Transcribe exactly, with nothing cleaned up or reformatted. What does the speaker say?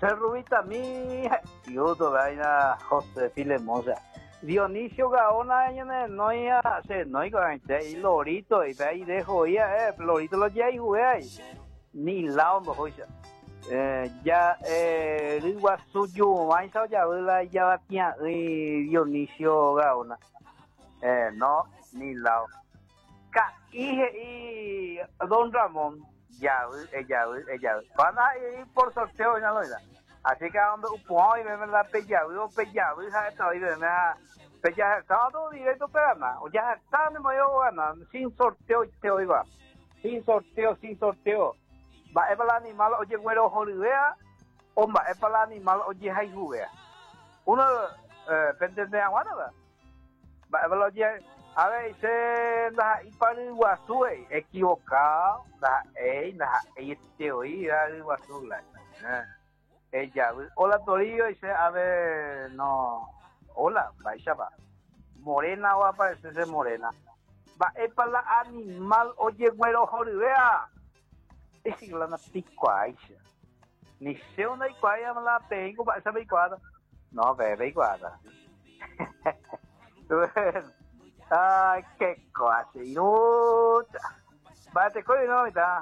Cerrubita mi, yuto vaina José Filemón. Dionisio Gaona, no ya se no y lorito y ahí dejo ya, eh, lorito lo ya y ahí. Ni lao no hoy. Eh, ya eh Riguazu vaisa ya la ya batía Dionisio Gaona. Eh, no, ni lao. Ka y Don Ramón ya ella ella van a ir por sorteo ya lo. Así que a donde upo y me la pellavu o pellavu ja esta y me pella sábado directo pegana o ya está me voy a ganar sin sorteo te oiga sin sorteo, sin sorteo. Va es para el animal oye güero joribea o va es para el animal oye jaijubea uno eh pendiente de agua va va es para oye a ver se da y para el guazú equivocado da ey da este oí da el guazú la ella. Hola, Torillo, dice, a ver, no, hola, vaya va morena va a aparecerse morena. Va es para la animal oye güero joribea es la na picuaixa ni sé una icuaya la tengo va esa icuada no bebe icuada. Ay, qué cosa. Va te coño no está.